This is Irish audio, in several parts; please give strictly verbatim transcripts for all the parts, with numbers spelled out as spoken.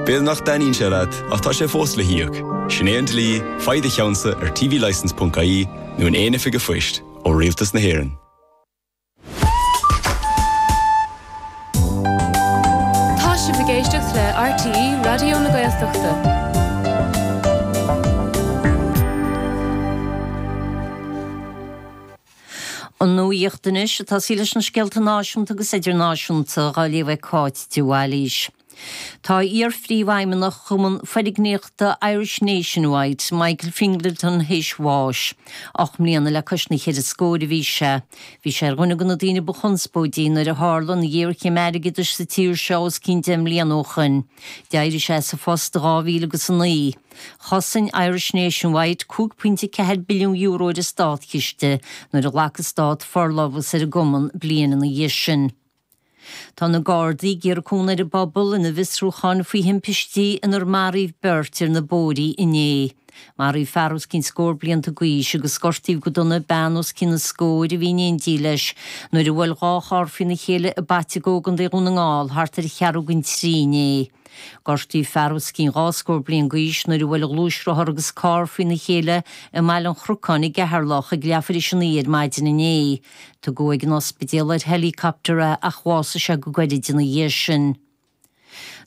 B'fhéidir nach dtaitníonn sé leat ach tá sé fós le híoc. Sin é an dlí faigh do cheannsa ar tvlicence.ie nó in aon oifig an phoist ó Rialtas na hÉireann. Tá sibh ag éisteacht le RTÉ Raidió na Gaeltachta. An nuacht anois ag tosaí leis na scéalta náisiúnta agus idirnáisiúnta á léamh ag Cáit de Bhailís. Tá iar-phríomhfheidhmeannach Chumann Foirgníochta Irish Nationwide, Michael Fingleton, théis bháis. Ocht mbliana le cois na cheithre scór a bhí sé. Bhí sé ar dhuine de na daoine ba chonspóidí nuair a tharla an ghéarchéim airgeadais sa tír seo os cionn deich mbliana ó shoin. D'éirigh sé as a phost i dhá mhíle agus a naoi. Chosain Irish Nationwide cúig pointe ceathair billiún euro ar an státchiste nuair a ghlac an stát forlámhas ar an gcumann bliain ina dhiaidh sin. Tá na Gardaí ag iarraidh cúnamh ar an bpobal ina bhfiosrúchán faoi thimpistí inar maraíodh beirt ar na bóithrí inné. Maraíodh fear os cionn scór blianta d'aois agus gortaíodh go dona bean os cionn an scóir a bhí in éindí leis nuair a bhuail dhá charr faoina chéile i bPaiteagó i gContae Dhún na nGall thart ar cheathrú don trí inné. Gortaíodh fear os cionn dhá scór bliain d'aois nuair a bhuail gluaisrothar agus carr faoina chéile i mBaile an Chnocáin i gCeatharlach ag leathuair théis a naoi ar maidin inné. Tugadh ag an ospidéal ar helicopter é ach bhásaigh sé go gairid ina dhiaidh sin.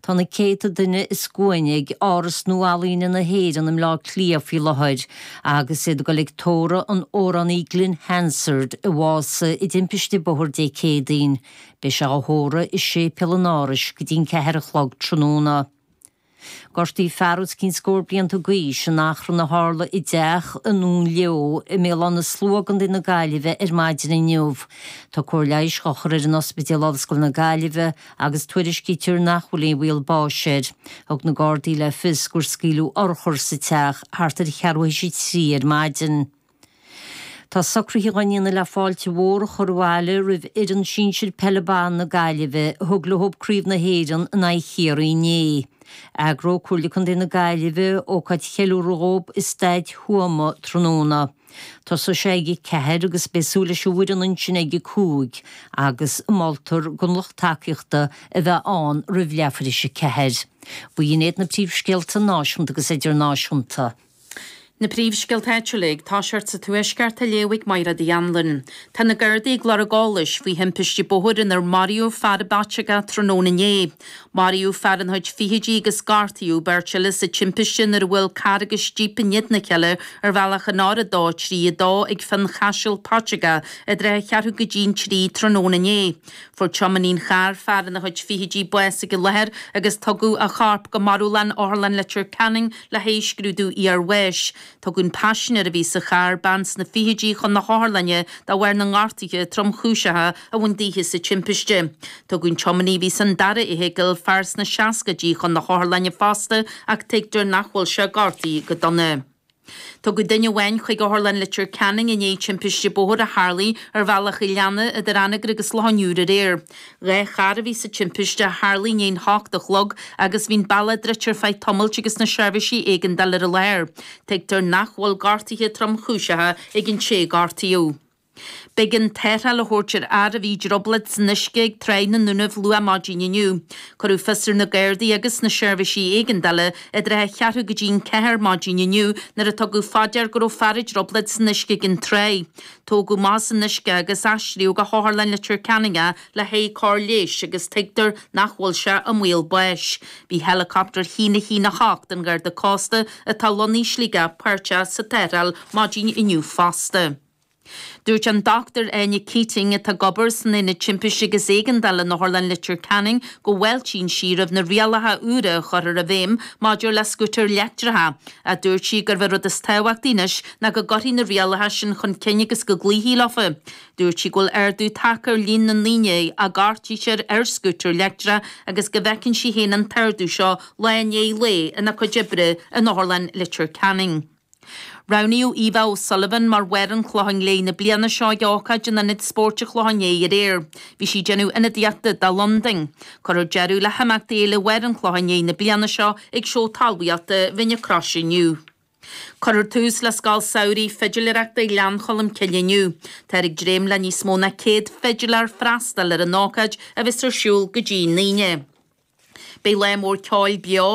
Tá na céadta duine i scuaine ag Áras Nua-Ealaíne na hÉireann i mBleá Cliath faoi láthair agus iad ag dul ag tórramh an amhránaí Glen Hansard a bhásaigh i dtimpiste bóthair Dé Céadaoin. Beidh sé á thórramh i séipéal an Árais go dtí'n ceathair a chlog tráthnóna. Gortaíodh fear os cionn scór blianta d'aois in achrann a tharla i dteach i nDún Leo i mBéal Átha na Slua i gContae na Gaillimhe ar maidin inniu. Tá cóir leighis á chur air in Ospidéal Ollscoile na Gaillimhe agus tuairiscítear nach bhfuil aon bhaol báis air. Thug na Gardaí le fios gur scaoileadh urchar sa teach thart ar cheathrú théis a trí ar maidin. Tá socruithe á ndéanamh le fáilte mhór a chur abhaile roimh fhoireann sinsir peile ban na Gaillimhe a thug leo Craobh na hÉireann in aghaidh Chiarraí inné. Eagróidh Comhairle Contae na Gaillimhe ócáid cheiliúrtha dhóibh i Staid Thuama tráthnóna. Tosóidh sé ag a ceathair agus beidh súil leis an bhfoireann ansin ag a cúig agus moltar don lucht tacaíochta a bheith ann roimh leathuair théis a ceathair. B'in iad na príomhscéalta náisiúnta agus idirnáisiúnta. Na príomhscéalta áitiúla ag toiseacht sa Tuaisceart á léamh ag Mairéad Uí Anluain. Tá na Gardaí ag lorg eolais faoi thimpiste bóthair inar maraíodh fear i bPaiteagó tráthnóna inné. Maraíodh fear ina chuid fichidí agus gortaíodh beirt eile sa timpiste nuair a bhuail carr agus jíp in éadan a chéile ar bhealach an R a dó trí a dó ag Fionn Chaisil, Paiteagó, i dtrátha cheathrú go dtí'n trí tráthnóna inné. Fuair tiománaí an chairr, fear ina chuid fichidí, bás ag an láthair agus tugadh a chorp go marbhlann Otharlann Leitir Ceanainn le haghaidh scrúdú iarbháis. Tugadh an paisinéir a bhí sa charr, bean sna fichidí, chun na hotharlainne de bharr na ngortuithe tromchúiseacha a bhain daoithe sa timpiste. Tugadh an tiománaí a bhí san dara fheithicil, fear sna seascaidí, chun na hotharlainne fosta ach tuigtear nach bhfuil sé gortaithe go dona. Tugadh duine amháin chuig Otharlann Leitir Ceanainn i ndiaidh timpiste bóthair a tharlaigh ar Bhealach an Leanna idir Anagaire agus Loch an Iúir aréir. Dhá charr a bhí sa timpiste a tharlaigh i ndiaidh an hocht a chlog agus bhí an bealach druidte ar feadh tamailt agus na seirbhísí éigeandála ar an láthair. Tuigtear nach bhfuil gortuithe tromchúiseacha ag an té a gortaíodh. B'éigean tarrtháil a thabhairt ar fhear a bhí i dtrioblóid san uisce ag Tráigh na nDúnaibh luath maidin inniu. Cuireadh fios ar na Gardaí agus na seirbhísí éigeandála i dtrátha a cheathrú go dtí'n ceathair maidin inniu nuair a tugadh fá dear go raibh fear i dtrioblóid san uisce ag an tráigh. Tógadh amach as an uisce é agus aistríodh go hOtharlann Leitir Ceanainn é le haghaidh cóir leighis agus tuigtear nach bhfuil sé i mbaol báis. Bhí heileacaptar a haon a haon a hocht an Gharda Cósta atá lonnaithe i Sligeach páirteach sa tarrtháil maidin inniu fosta. Dúirt an Dochtúir Áine Keating, atá ag obair san Aonad Timpiste agus Éigeandála in Otharlann Leitir Ceanainn, go bhfáiltíonn sí roimh na rialacha úra a chuirfear i bhfeidhm maidir le scútair leictreacha, ach dúirt sí gurb é rud is tábhachtaí anois ná go gcuirfí na rialacha sin chun cinn agus go gcloífí leofa. Dúirt sí go bhfuil ardú tagtha ar líon na ndaoine a gortaítear ar scútar leictreach agus go bhfeiceann sí féin an t-ardú seo lá i ndiaidh lae ina cuid oibre in Otharlann Leitir Ceanainn. Roghnaíodh Eva O'Sullivan mar Bharr an Chlocháin Léith na bliana seo ag ócáid in Ionad Spóirt an Chlocháin Léith aréir. Bhí sí ag déanamh ionadaíochta do Londain. Cuirfear deireadh le himeachtaí Fhéile Bharr an Chlocháin Léith na bliana seo ag Seó Talmhaíochta Bhinn an Chrois inniu. Cuirfear tús le Scoil Samhraidh Fidiléireachta Ghleann Cholm Cille inniu. Táthar ag dréim le níos mó ná céad fidiléir freastal ar an ócáid a bheas ar siúl go dtí an Aoine. Beidh lá mór ceoil beo